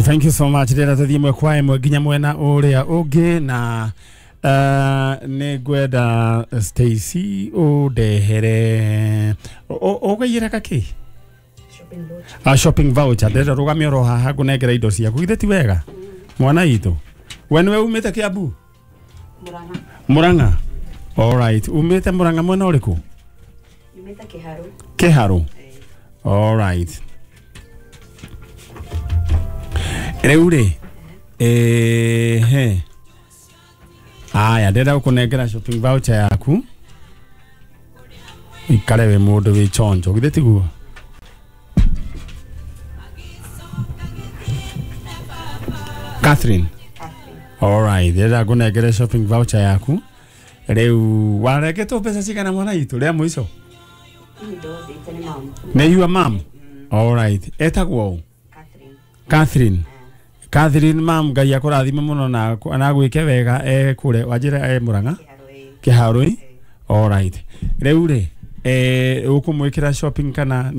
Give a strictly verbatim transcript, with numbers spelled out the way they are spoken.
Thank you so much. Ndĩrenda tũthiĩ ĩmwe kwa ĩmwe nginya mwena ũrĩa ũngĩ na uh, nĩ ngwenda Stacy ũndehere ũgũiyĩra kakĩ a shopping voucher. Ndĩrenda rũgamie oro haha ngũnengera indo ciaku, githĩ ti wega mwana witũ? We nĩwe umĩte Kiambu? Murang'a. Murang'a, alright. Umĩte Murang'a mwena ũrĩkũ? Nyumĩte Kĩharũ. Kĩharũ, alright. Rĩu rĩ, ehe, aya, ndĩrenda gũkũnengera shopping voucher yaku, ikare wĩ mũndũ wĩ chonjo, githĩ tiguo? Catherine. Alright, ndĩrenda ngũnengere shopping voucher yaku. Rĩu warengetwo mbeca cigana mwana witũ rĩa mũico? Niĩ ndothĩte nĩ mamu. Nĩ yua mam? Alright, etagwo ũ? Catherine. Catherine. Catherine mam, Ngai akũrathime mũno na na gwĩke wega e kũrĩa wanjĩra e Murang'a. Kĩharũ ĩĩ. Kĩharũ. Alright, rĩu rĩ, eh ũkũmwĩkĩra shopping kana